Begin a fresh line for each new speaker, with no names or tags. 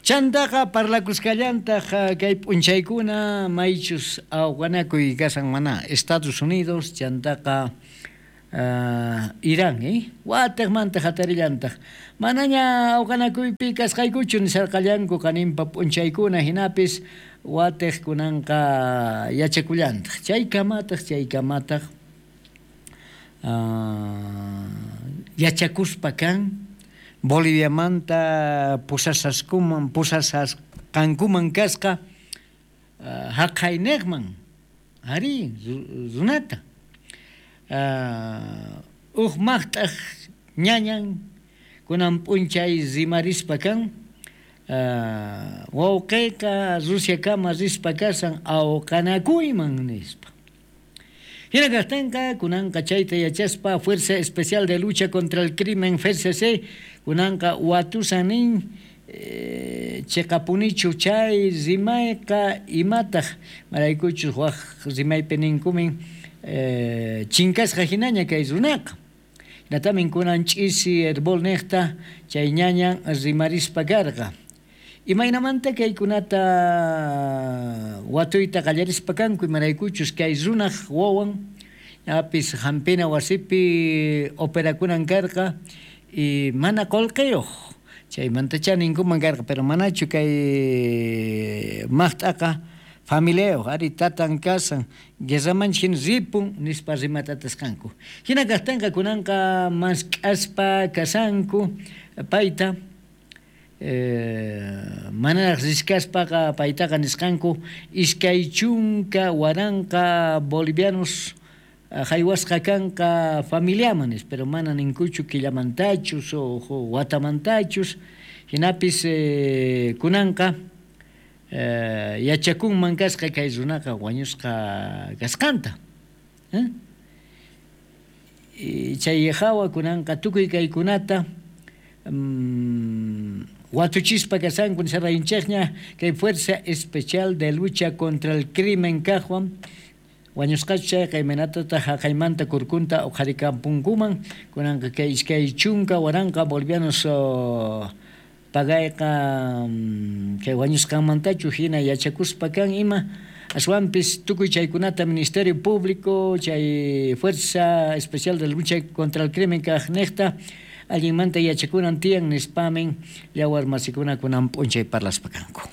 Chantaqa parlakusqallantaj kay p'unchaykuna maychus awqanakuy kashan mana Estados Unidos chantaqa Irán watejmanta jatarillantaj manaña awqanakuypi kasqaykuchu nisharqallanku qaninpa p'unchaykuna jinapis watej kunanqa yachakullantaj chaykamataq yachakuspa kan Boliviamanta pusasqankuman kasqa jaqaynejman arí runata uj maqt'aj ñañan kunan p'unchay rimarispa kan wawqeyqa Rusiakama rispa kasan awqanakuyman nispa. Hina kajtenqa kunanqa chayta yachaspa Fuerza Especial de Lucha contra el Crimen FCC kunanqa watusan nin cheqapunichu chay rimayqa imataq maraykuchus waj rimaypi ninkumin chinkasqa hinaña kay runaqa. Hinatamin kunan ch'isi herbol nejta chay ñañan rimarispa karqa. Imaynamanta kaykunata watuyta qallarispa kanku imaraykuchus kay runaj wawan apis hampina wasipi operakunan karqa y mana qullqiyuq chaymantachá ninkuman karqa pero manachu kay maqt'aqa familiayuq ari tatan kasan guerramanchik hina ripun nispa rimatatasqanku. Hina kajtinqa kunanqa mask'aspa kasanku payta manaraq riskaspaqa paytaqa nisqanku 20,000 bolivianos haywasqa kanqa familiaman nispa, pero mana ninkuchu killamantachus o watamantachus hinapis kunanqa yachakunman kasqa kay runaqa wañusqa kasqanta. Chay hawa kunanqa tukuy kaykunata watuchispa kasanku nisarayinchikña kay Fuerza Especial de Lucha contra el Crimen kajwan wañusqachu chayqa imaynatataq jaqaymanta kurkunta uqharikampunkuman kunanqa kay 20,000 bolivianos pagayqa kay wañusqanmantachu hina yachakuspa kan ima aswanpis tukuy chaykunata Ministerio Público chay Fuerza Especial de Lucha contra el Crimen kajnejta allinmanta yachakunan tiyan nispamin yawar masikuna kunan p'unchay parlaspa kanku.